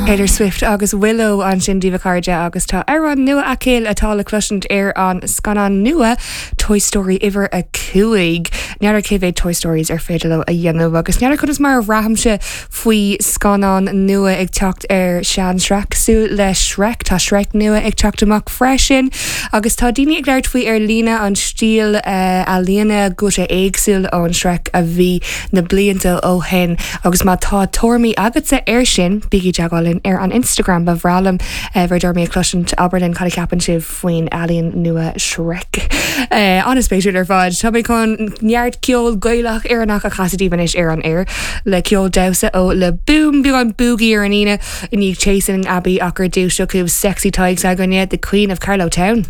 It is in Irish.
Taylor Swift agus Willow ansin daoibh a chairde agus tá amhrán nua aici atá le cloisint ar an scannán nua Toy Story uimhir 5. N'fheadar cé mhéad Toy Stories ar féidir leo a dhéanamh agus n'fheadar conas mar a bhraithimse faoi scannán nua ag teacht ar sean-sraith cosúil le Shrek. Tá Shrek nua ag teacht amach freisin agus tá daoine ag labhairt faoi ar líne an stíl ealaíne go bhfuil sé éagsúil ón Shrek a bhí na blianta ó shin agus má tá tuairimí agatsa air sin, bígí i dteagmháil linn ar an Instagram. Ba bhreá liom bhur dtuairimí a chloisint. Abair linn cad a cheapann sibh faoin ealaín nua Shrek. An-spéisiúil ar fad. Tá mé chun neart ceol Gaelach Éireannach a chasadh daoibh anois ar an aer le ceol damhsa ó Le Boom, beagán boogie ar an Aoine i ndiaidh Chasing Abbey ach ar dtús seo chugaibh Sexy Tadhg s'againne, The Queen of Carlow Town.